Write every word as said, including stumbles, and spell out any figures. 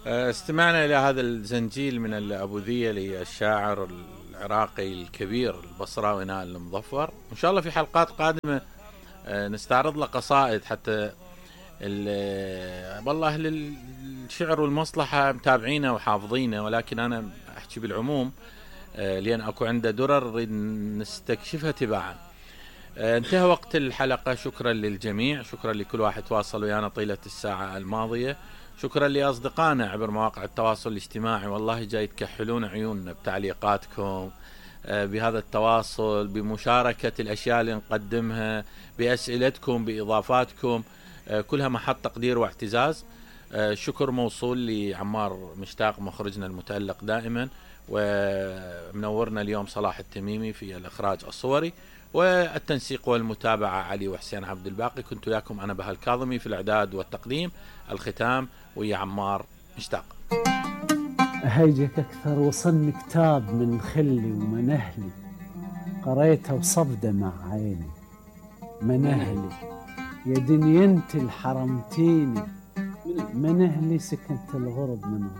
استمعنا إلى هذا الزنجيل من الأبوذية للشاعر العراقي الكبير البصراوي نائل المظفر. إن شاء الله في حلقات قادمة نستعرض له قصائد، حتى والله أهل الشعر والمصلحة متابعينه وحافظينه، ولكن أنا أحكي بالعموم لأن أكو عنده درر نريد نستكشفها تباعا. انتهى وقت الحلقة، شكرا للجميع، شكرا لكل واحد تواصل ويانا طيلة الساعة الماضية، شكرا لأصدقائنا عبر مواقع التواصل الاجتماعي، والله جاي تكحلون عيوننا بتعليقاتكم، بهذا التواصل، بمشاركة الأشياء اللي نقدمها، بأسئلتكم، بإضافاتكم، كلها محط تقدير واعتزاز. شكر موصول لعمار مشتاق مخرجنا المتألق دائما، ومنورنا اليوم صلاح التميمي في الإخراج الصوري، والتنسيق والمتابعة علي وحسين عبد الباقي. كنت وياكم أنا بهاء الكاظمي في الإعداد والتقديم، الختام ويا عمار مشتاق. أهيجك أكثر، وصلني كتاب من خلي ومنهلي، قريته وصفده مع عيني. منهلي يا دنيا انت الحرمتيني، منهلي سكنت الغرب من